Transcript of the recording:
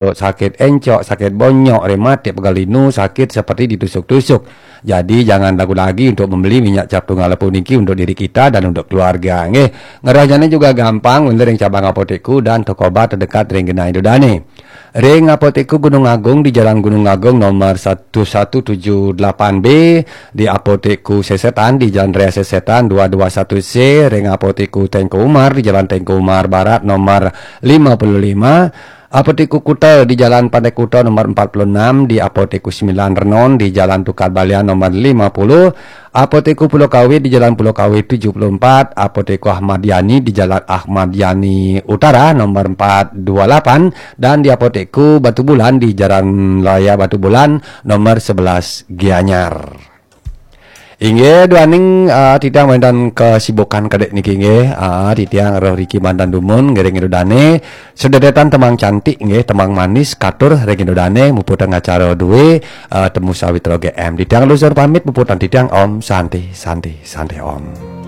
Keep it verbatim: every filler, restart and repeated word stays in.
sakit encok, sakit bonyok, rematik, pegal linu, sakit seperti ditusuk-tusuk. Jadi jangan ragu lagi untuk membeli minyak cap tunggal puniki untuk diri kita dan untuk keluarga, nggih. Ngerahnya juga gampang, wénten ring cabang apotekku dan toko obat terdekat ring genah Ida Dané. Ring apotekku Gunung Agung di Jalan Gunung Agung nomor satu satu tujuh delapan B, di apotekku Sesetan di Jalan Raya Sesetan dua dua satu C, ring apotekku Tengku Umar di Jalan Tengku Umar Barat nomor lima puluh lima, apotekku Kuta di Jalan Pantai Kuta nomor empat puluh enam, di apotekku Sembilan Renon di Jalan Tukad Balian nomor lima puluh, apotekku Pulau Kawe di Jalan Pulau Kawe tujuh puluh empat, apotekku Ahmad Yani di Jalan Ahmad Yani Utara nomor empat dua lapan, dan di apotekku Batu Bulan di Jalan Raya Batu Bulan nomor sebelas Gianyar. Inggih, duaning, ah, titiang wénten kesibukan kedék niki, nggih. Ah, titiang rauh riki mantan dumun, ngiring Ida Dané. Sedérétan tembang cantik, nggih, tembang manis, katur ring Ida Dané, muputang acara dué, ah, Temu Sawitra G M. Titiang luhur pamit, muputang titiang, Om Santi, Santi, Santi Om.